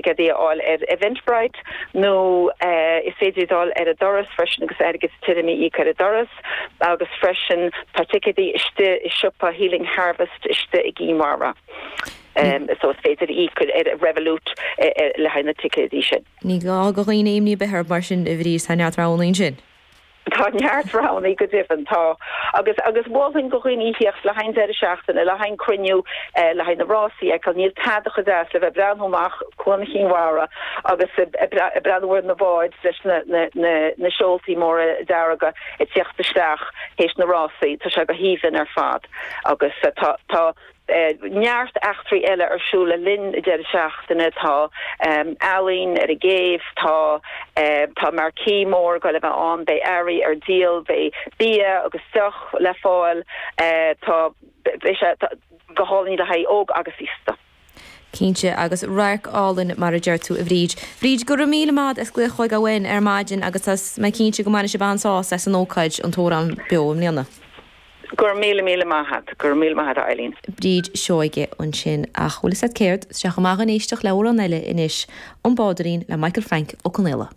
ticéadaí a fháil ar Eventbrite nó is féidir iad a fháil ar an doras freisin agus airgead tirim a íoc ar an doras agus freisin tá ticéadaí istigh i siopa Healing Harvest istigh i gCinn Mhara so is féidir íoc ar Revolut le haghaidh na ticéadaí sin. Ní gá do dhaoine imní ar bith orthu mar sin a Bhríd, tá neart roghanna ansin. Tá neart roghanna go deimhin, tá. Agus, agus mholfainn do dhaoine theacht le haghaidh an deireadh seachtaine, le haghaidh an cruinniú, le haghaidh na rásaí a fheiceáil. Níl tada chomh deas le bheith ag breathnú amach Cuan Chinn Mhara agus ag breathnú ar na báid leis na, na, na, na seoltaí móra dearga ag tíocht isteach théis na rásaí. Tá sé go haoibhinn ar fad. Agus tá, tá. neart eachtraí eile ar siúl le linn an deireadh seachtaine. Tá ealaín ar an gcéibh, tá tá marquee mór ag goil a bheith ann, beidh earraí ar díol, beidh bia agus deoch le fáil, tá beidh sé go hálainn le haghaidh óg agus aosta. Cinnte, agus radharc álainn mar a deir tú a Bhríd. Bríd, go raibh míle maith agat as glaoch chugainn uainn ar maidin agus tá mé cinnte go mbainfidh sibh an-sásamh as an ócáid an tAmhrán Beo i mbliana. Go raibh míle míle maith agat. Go raibh míle maith agat a Eileen. Bríd Seoige ansin. Ach bhfuil fhios a't céard? Tá sé chomh maith dhúinn éisteacht le amhrán eile anois, An Bádóirín le Michael Frank Ó Conaola.